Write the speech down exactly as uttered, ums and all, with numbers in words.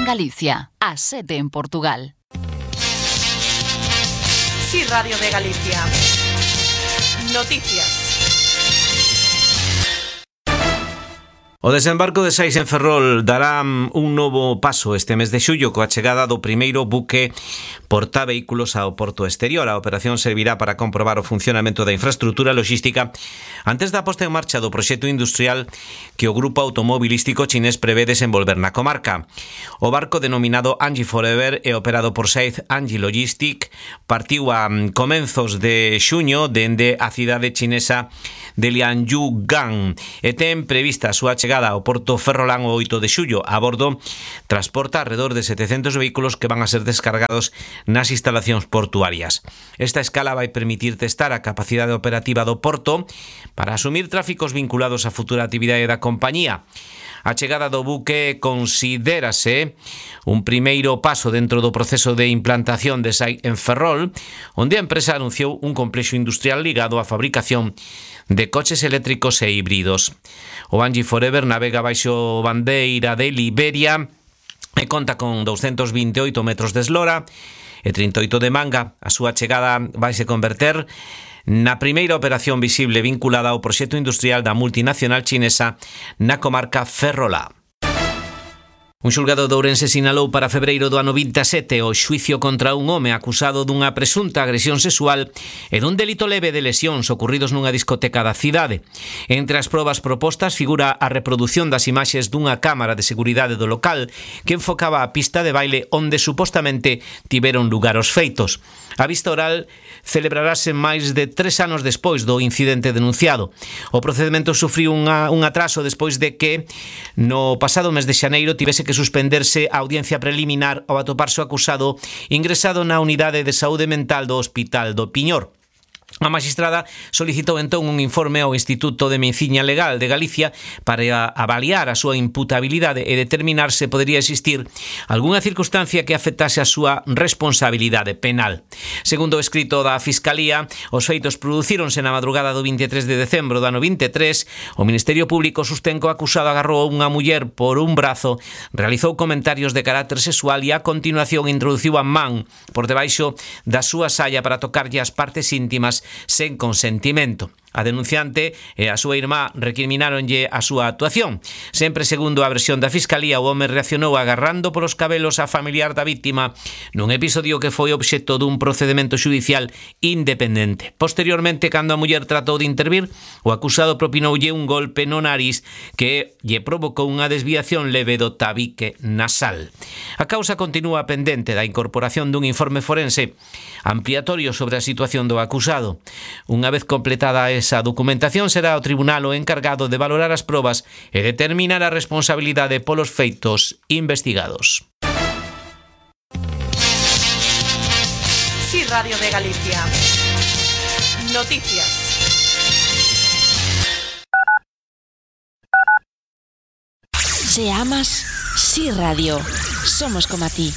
en Galicia, a sete en Portugal. Sí, Radio de Galicia. Noticias. O desembarco de Sais en Ferrol dará un novo paso este mes de xullo coa chegada do primeiro buque portavehículos ao porto exterior. A operación servirá para comprobar o funcionamento da infraestrutura logística antes da posta en marcha do proxecto industrial que o grupo automobilístico chinés prevé desenvolver na comarca. O barco denominado Anji Forever e operado por Saiz Anji Logistic partiu a comenzos de xuño dende a cidade chinesa de Lianyugang e ten prevista a súa chegada ao porto ferrolán o oito de xullo. A bordo transporta alrededor de setecentos vehículos que van a ser descargados nas instalacións portuarias. Esta escala vai permitir testar a capacidade operativa do porto para asumir tráficos vinculados á futura actividade da compañía. A chegada do buque considérase un primeiro paso dentro do proceso de implantación de Saiz en Ferrol, onde a empresa anunciou un complexo industrial ligado á fabricación de coches eléctricos e híbridos. O Anji Forever navega baixo bandeira de Liberia e conta con doscientos veintioito metros de eslora e trinta e oito de manga. A súa chegada vaise converter na primeira operación visible vinculada ao proxecto industrial da multinacional chinesa na comarca ferrolá. Un xulgado de Ourense sinalou para febreiro do ano vinte e sete o xuicio contra un home acusado dunha presunta agresión sexual e dun delito leve de lesións ocorridos nunha discoteca da cidade. Entre as probas propostas figura a reproducción das imaxes dunha cámara de seguridade do local que enfocaba a pista de baile onde supostamente tiveron lugar os feitos. A vista oral celebrarase máis de tres anos despois do incidente denunciado. O procedimento sufriu unha, un atraso despois de que no pasado mes de xaneiro tivese que suspenderse a audiencia preliminar ao atoparse o acusado ingresado na unidade de saúde mental do Hospital do Piñor. A magistrada solicitou entón un informe ao Instituto de Medicina Legal de Galicia para avaliar a súa imputabilidade e determinar se podería existir algunha circunstancia que afectase a súa responsabilidade penal. Segundo o escrito da Fiscalía, os feitos producíronse na madrugada do vinte e tres de decembro do ano vinte e tres. O Ministerio Público sostén que o acusado agarrou a unha muller por un brazo, realizou comentarios de carácter sexual e a continuación introduciu a man por debaixo da súa saia para tocarlle as partes íntimas sen consentimento. A denunciante e a súa irmá recrimináronlle a súa actuación. Sempre segundo a versión da Fiscalía, o home reaccionou agarrando polos cabelos a familiar da víctima nun episodio que foi obxecto dun procedimento xudicial independente. Posteriormente, cando a muller tratou de intervir, o acusado propinoulle un golpe no nariz que lle provocou unha desviación leve do tabique nasal. A causa continúa pendente da incorporación dun informe forense ampliatorio sobre a situación do acusado. Unha vez completada esa documentación, será o tribunal o encargado de valorar as probas e determinar a responsabilidade polos feitos investigados. Sí, Radio de Galicia. Noticias. Se amas, Sí Radio. Somos como a ti.